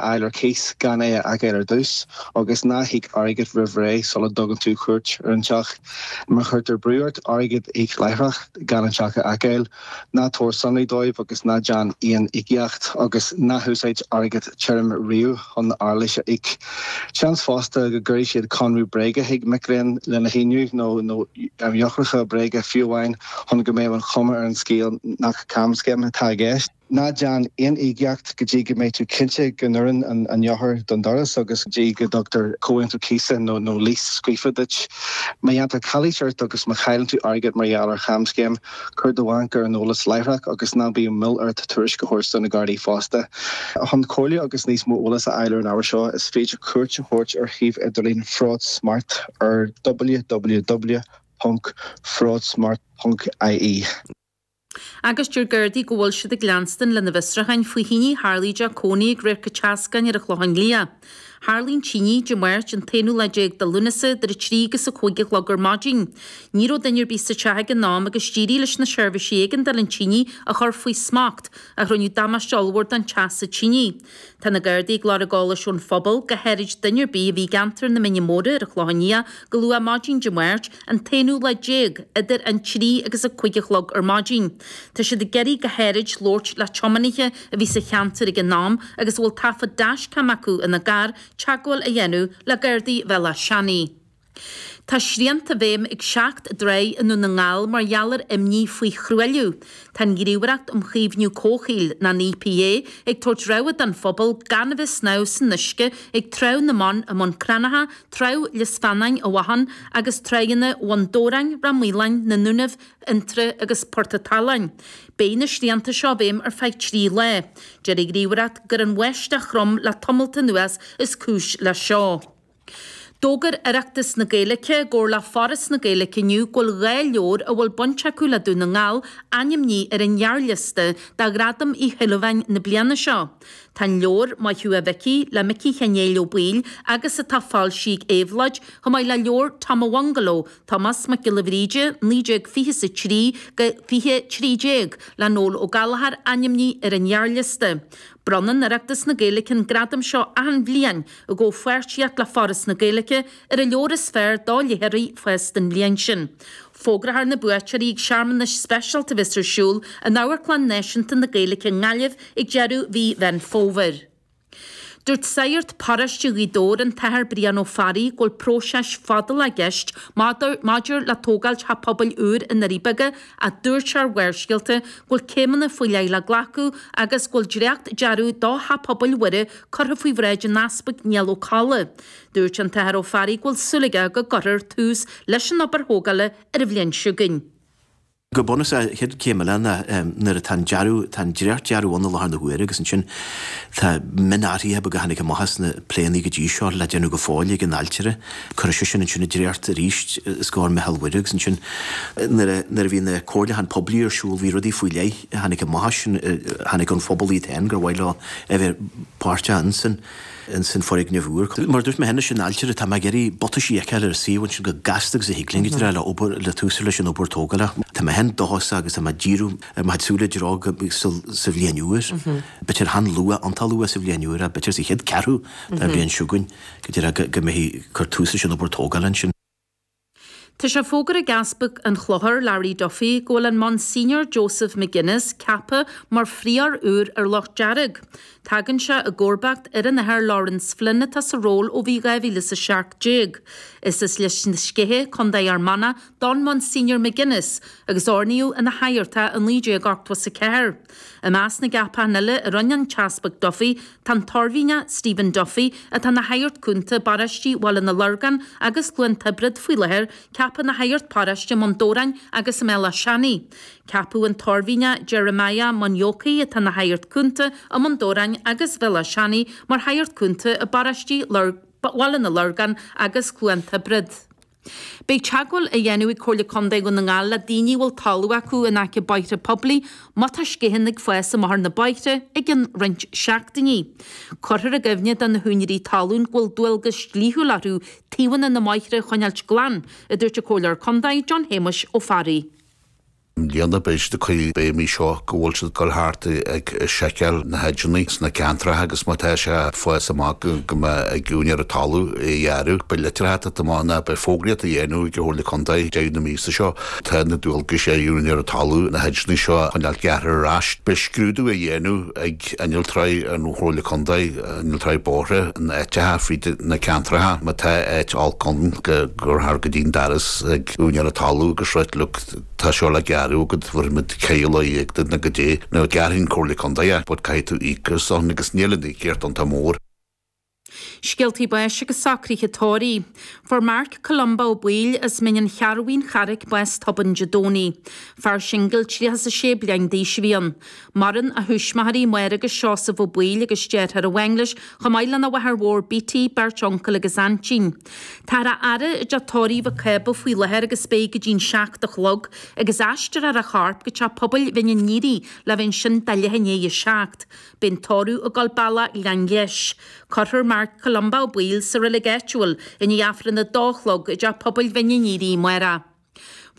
Fháil ar cíos gan é a fheiceáil ar dtús, agus ná híoc airgead roimh ré sula dtugann tú cuairt ar an teach. Má chuirtear brú ort airgead a íoc láithreach gan an teach a fheiceáil, ná tabhair sonraí dóibh agus ná déan aon íocaíocht, agus ná húsáid airgead tirim riamh chun árachas a íoc. Seans fosta go gcuirfidh siad conradh bréige chuig mic léinn lena shíniú, nó eochracha bréige fiú amháin, chun go mbeadh an chuma ar an scéal nach camscéim atá i gceist. Ná déan aon íocaíocht go dtí go mbeidh tú cinnte go n-oireann an eochair don doras agus go dtí go dtugtar comhaontú cíosa nó lease scríofa duit. Má dhéantar calaois ort agus má chailleann tú airgead mar gheall ar chamscéim, cuir do bhanc ar an eolas láithreach agus ná bíodh moill ort tuairisc a thabhairt do na Gardaí fosta. Chun comhairle agus níos mó eolas a fháil ar an ábhar seo, is féidir cuairt a thabhairt ar shuíomh idirlín Fraud Smart ar www.fraudsmart.ie. Agus deir Gardaí go bhfuil siad ag leanstan lena bhfiosrúcháin faoi thine a tharlaigh i dteach cónaí ag Radharc an tSeascáin ar an Chlochán Liath. Tharlaigh an tine Dé Máirt an t-aonú lá déag de Lúnasa idir 3 agus 5 a chlog ar maidin. Ní raibh duine ar bith sa teach ag an am agus d'éirigh leis na seirbhísí éigeandála an tine a chur faoi smacht ach rinneadh damáiste ollmhór don teach sa tine. Tá na Gardaí ag lorg eolais ón phobal, go háirid duine ar bith a bhí i gceantar na Mine Móire ar an Chlochán Liath go luath maidin Dé Máirt, an t-aonú lá déag, idir an 3 agus 5 a chlog ar maidin. Tá siad ag iarraidh go háirid labhairt le tiománaithe a bhí sa cheantar ag an am agus a bhfuil taifead dashcam acu ina gcarr teagmháil a dhéanamh le Gardaí Bhéal Átha Seanaidh. Tá srianta i bhfeidhm ag seacht dtráigh i nDún na nGall mar gheall ar imní faoi thruailliú. Tá an Ghníomhaireacht um Chaomhnú Comhshaoil, ná an EPA, ag tabhairt rabhadh don phobal gan a bheith ag snámh san uisce ag Trá na mBan i mBun Cranncha, Trá Lios Feannáin i bhFathán agus tráigheanna Bhun Dobhráin, Ráth Maoláin, na nDúnaibh, Fhionntrá agus Port a' tSaláin. Beidh na srianta seo i bhfeidhm ar feadh 3 lá. Deir an Ghníomhaireacht gur an bháisteach throm le tamalt anuas is cúis leis seo. D'fhógair Oireachtas na Gaeilge i gcomhar le Foras na Gaeilge inniu go bhfuil 2 leabhar a bhfuil baint acu le Dún na nGall ainmnithe ar an ghearrliosta do Ghradam Uí Shúilleabháin na bliana seo. Tá an leabhar Maith Thú a Mhicí le Micí Sheáin Néill Ó Baoill agus atá foilsithe ag Éabhlóid, chomh maith le leabhar Tom a' Bhungaló, Tomás Mac Giolla Bhríde, 1923-2013 le Noel Ó Gallchóir ainmnithe ar an ghearrliosta. Bronnann Oireachtas na Gaeilge an gradam seo achan bhliain i gcomhpháirtíocht le Foras na Gaeilge, ar an leabhar is fearr do léitheoirí fásta an bhliain sin. Fógrófar na buaiteoirí ag searmanas speisialta a bheas ar siúl in Amharclann Náisiúnta na Gaeilge i nGaillimh ag deireadh mhí Mheán Fómhair. Dúirt Sagart Paróiste Ghaoth Dobhair, an tAthair Brian Ó Fearraigh, go bhfuil próiseas fadálach i gceist maidir le tógáil teach pobail úr i nDoirí Beaga ach dúirt sé ar Bharrscéalta go bhfuil céimeanna faoi leith le glacadh agus go bhfuil dréacht-dearadh do Theach Pobail Mhuire curtha faoi bhráid an Easpaig Niall Ó Colla. Dúirt an tAthair Ó Fearraigh go bhfuil súil aige go gcuirfear tús leis an obair thógála ar an bhliain seo chugainn. Go bunúsach, an chéad chéim eile ná nuair atá an dearadh, tá an dréacht-dearadh ann i láthair na huaire agus ansin tá mionathruithe beaga a tháinig amach as na pléanna go dtí seo le déanamh go fóill ag an ailtire. Cuirfidh sé sin ansin an dréacht arís os comhair Meitheal Mhuire agus ansin nuair a, nuair a bhí na comhairliúcháin poiblí ar siúl bhí rudaí faoi leith a tháinig amach as sin, a tháinig ón phobal iad féin gur mhaith leo a bheith páirteach ansin. ins an foirgneamh úr. Mar a dúirt mé cheana, leis an ailtire, tá mé ag iarraidh butaisí a fheiceáil ar an suíomh ansin chomh gasta agus a thig linn, go díreach le obair, le tús a chur leis an obair tógála. Tá mé féin dóchasach agus tá mé ag díriú ar mo chuid súile i dtreo go sa bhliain úr, b'fhéidir chan luath, iontach luath sa bhliain úr, ach b'fhéidir sa chéad ceathrú den bhliain seo chugainn, go díreach go mbeifí ag cur tús leis an obair tógála ansin. Tá sé fógartha ag Easpag an Chlochair, Larry Duffy, go bhfuil an Monsignor Joseph McGuinness ceaptha mar phrióir úr ar Loch Dearg. Tagann sé i gcomharbacht ar an Athair Laurence Flynn atá sa ról ó bhí 2017. Is as Lios na Sceiche, Co. Fhear Manach, don Monsignor McGuinness agus oirníodh ina shagart é i 1984. I measc na gceapachán eile a rinne an tEaspag Duffy tá an tOirmhinneach Stephen Duffy, atá ina shagart cúnta i bparóistí Bhaile na Lorgan agus Chluain Tiobraid faoi láthair, ceaptha ina shagart paróiste i mBun Dobhráin agus i mBéal Átha Seanaidh. Ceapadh an tOirmhinneach Jeremiah Munyoki, atá ina shagart cúnta i mBun Dobhráin agus Bhéal Átha Seanaidh, mar shagart cúnta i bparóistí Bhaile na Lorgan agus Chluain Tiobraid. Beidh teagmháil á dhéanamh ag Comhairle Contae Dhún na nGall le daoine a bhfuil talamh acu in aice bóithre poiblí má tá sciatháin ag fás amach ar na bóithre i gcionn roinnt seachtainí. Cuirfear i gcuimhne do na húinéirí talún go bhfuil dualgas dlíthiúil orthu taobhanna na mbóithre a choinneáilt glan, a dúirt an Comhairleoir Contae John Shéamuis Ó Fearraigh. I mbliana beidh siad ag cur béim air seo go bhfuil siad ag dul thart ag seiceáil na hedgeanna sna ceantracha agus má tá sé ag fás amach go mbeadh ag úinéir an talaimh é a ghearradh. Beidh litreacha ag teacht amach ná beidh fógraíocht á dhéanamh ag an Chomhairle Contae deireadh na míosa seo. Tá na dualgais ar úinéir an talaimh na hedgeanna seo a choinneáil gearrtha ar ais. Beidh scrúdú á dhéanamh ag innealtóirí an Chomhairle Contae, innealtóirí bóithre in áiteacha fríd na ceantracha. Má tá áit olc ann go gcuirfear go dtí an doras ag úinéir an talaimh agus ráit look tá seo le gearradh agat, bhéarfaimid ceithre lá duit nó goidé, nó gearrfaidh an Comhairle Contae é, but caithfidh tú íoc as san agus níl an íocaíocht iontach mór. Scéaltaí báis agus socruithe tórraimh. Fuair Marc Columba Ó Baoill as Mín an Chearbhaigh, An Charraic, bás tobann Dé Domhnaigh. Fear singil 36 bliain d'aois a bhí ann. Maireann a thuismitheoirí, Máire agus Seosamh Ó Baoill agus deartháir amháin leis, chomh maith lena mháthair mhór Beattie, beirt uncail agus aintín. Táthar á fhaire i dteach tórraimh Mhic Cába faoi láthair agus beidh go dtí'n 7 a chlog, agus aistreofar a chorp go teach pobail Bhinn an Niaraigh le bheith ansin do leath i ndiaidh a 7. Beidh an tórramh ag dul bealach Ghleann Gheis. Cuirfear Marc Columba Ó Baoill sa reilig áitiúil i ndiaidh Aifreann a dó a chlog i dteach pobail Bhinn an Niaraigh amárach.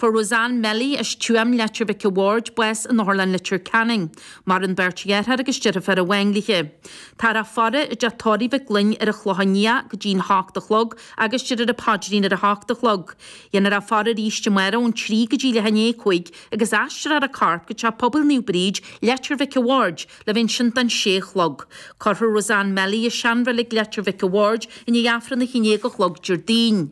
Fuair Roseanne Melly as Tuaim, Leitir Mhic a' Bhaird, bás in Otharlann Leitir Ceanainn. Maireann beirt dheartháir agus deirfiúr amháin léi. Táthar á faire i dteach tórraimh Mhic Gloinn ar an Chlochán Liath go dtí'n hocht a chlog agus déarfar an paidrín ar a hocht a chlog. Dhéanfar a faire arís amárach ón 3 go dtí leath i ndiaidh a 5 agus aistreofar a corp go Teach Pobail Naomh Bríd, Leitir Mhic a' Bhaird, le bheith ansin don sé a chlog. Cuirfear Roseanne Melly i seanreilig Leitir Mhic a' Bhaird i ndiaidh Aifreann a haon déag a chlog Déardaoin.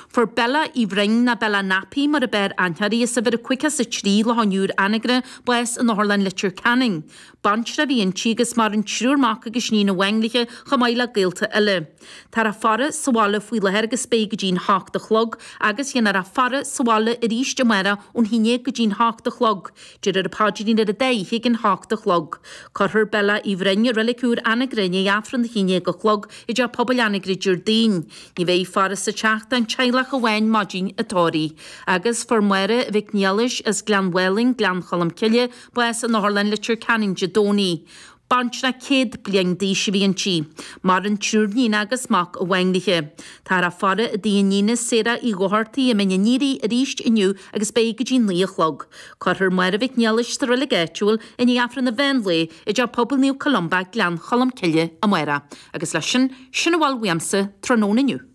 Fuair Bella Uí Bhroin, nó Bella Nappy mar a b'fhearr aithne uirthi, as uimhir a 53 Loch an Iúir, Anagaire, bás in Otharlann Leitir Ceanainn. Baintreach a bhí inti agus maireann triúr mac agus iníon amháin léi chomh maith le gaolta eile. Táthar á faire sa bhaile faoi láthair agus beidh go dtí'n hocht a chlog agus dhéanfar a faire sa bhaile arís amárach ón haon déag go dtí'n hocht a chlog. Déarfar an paidrín ar an dá oíche ag an hocht a chlog. Cuirfear Bella Uí Bhroin i Reilig Úr Anagaire i ndiaidh Aifreann a haon déag a chlog i dTeach Pobail Anagaire Déardaoin. Ní bheidh faire sa teach don teaghlach amháin maidin an tórraimh. Agus fuair Máire Mhic Niallais as Gleann Mhálainn, Gleann Cholm Cille, bás in Otharlann Leitir Ceanainn Dé Domhnaigh. Baintreach 100 bliain d'aois a bhí inti. Maireann triúr níon agus mac amháin léi. Táthar á faire i dtigh a níne Sarah Uí Dhochartaigh i Mín an Niaraigh arís inniu agus beidh go dtí 9 a chlog. Cuirfear Máire Mhic Niallais sa reilig áitiúil i ndiaidh Aifreann an mheán lae i dTeach Pobail Naomh Columba, Gleann Cholm Cille, amárach. Agus leis sin, sin a bhfuil uaimse tráthnóna inniu.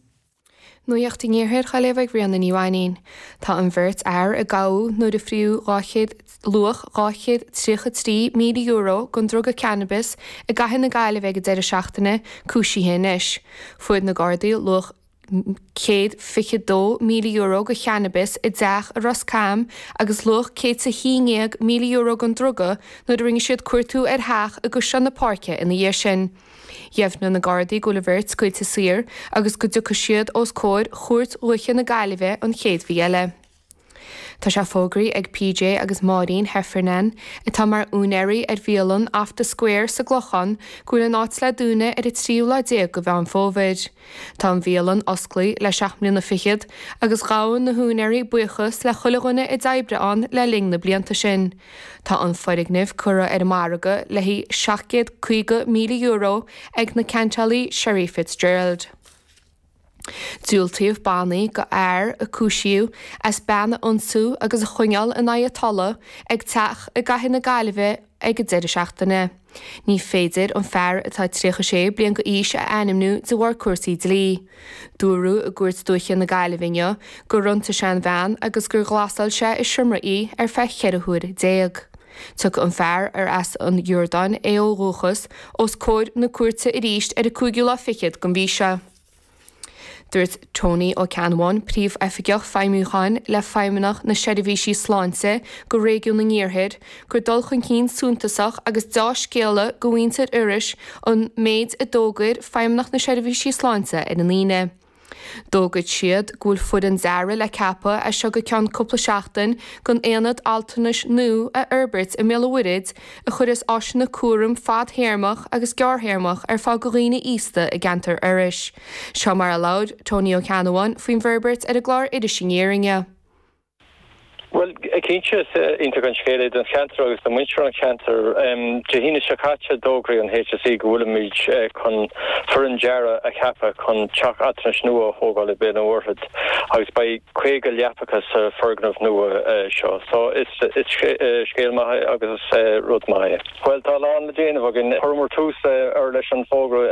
Nuacht an Iarthair á léamh ag Ríona Ní Mhainín. Tá an bheirt fhear a gabhadh nuair a fríodh 200, luach €233,000 den druga cannabis i gcathair na Gaillimhe ag an deireadh seachtaine, cúisithe anois. Fuair na Gardaí luach €122,000 de channabis i dteach i Ros Cam agus luach €111,000 den druga nuair a rinne siad cuartú ar theach i gCaisleán na Páirce ina dhiaidh sin. Dheimhnigh na Gardaí go bhfuil an bheirt scaoilte saor agus go dtiocfaidh siad os comhair Chúirt Dhúiche na Gaillimhe an chéad mhí eile. Tá sé fógraithe ag PJ agus Máirín Heffernan, atá mar úinéirí ar bhialann Off The Square sa gClochán, go bhfuil an áit le dúnadh ar an tríú lá déag de Mheán Fómhair. Tá an bhialann osclaithe le seacht mbliana fichead agus ghabh na húinéirí buíochas le chuile dhuine a d'oibrigh ann le linn na blianta sin. Tá an foirgneamh curtha ar an margadh le haghaidh €750,000 ag na ceantálaí Sherry Fitzgerald. Diúltaíodh bannaí do fhear a cúisíodh as bean a ionsú agus a choinneáil in aghaidh a tola ag teach i gcathair na Gaillimhe ag an deireadh seachtaine. Ní féidir an fear atá 36 bliain d'aois a ainmniú de bharr cúrsaí dlí. Dúradh i gCúirt Dúiche na Gaillimhe inniu gur ionsaigh sé an bhean agus gur ghlasáil sé i seomra í ar feadh 14 huair. Tiocfaidh an fear, ar as an Iordáin é ó dhúchas, os comhair na cúirte arís ar an cúigiú lá fichead den mhí seo. Dúirt Tony Ó Ceannabháin, Príomhoifigeach Feidhmiúcháin le Feidhmeannacht na Seirbhísí Sláinte do Réigiún an Iarthair, gur dul chun cinn suntasach agus deá-scéala do mhuintir Iorrais an méid a d'fhógair Feidhmeannacht na Seirbhísí Sláinte ar an Aoine. D'fhógair siad go bhfuil foireann dearaidh le ceapadh as seo go ceann cúpla seachtain don aonad altranais nua a fhorbairt i mBéal an Mhuirthead a chuirfeas áiseanna cúraim fadthéarmach agus gearrthéarmach ar fáil do dhaoine aosta i gceantar Iorrais. Seo mar a labhair Tony Ó Ceannabháin faoin bhforbairt ar an gclár Iris Aniar inniu. Bhuel, cinnte, is iontach an scéal é don cheantar agus do mhuintir an cheantair. Dé hAoine seo caite, d'fhógraigh an HSE go bhfuilimid chun foireann dearaidh a cheapadh chun teach altranais nua a thógáil i Béal an Mhuirthead agus beidh 50 leapacha sa foirgneamh nua seo. So, is scéal maith é agus is rud maith é. Bhuel, tá a lán le déanamh againn. Chuireamar tús leis an bhfógra.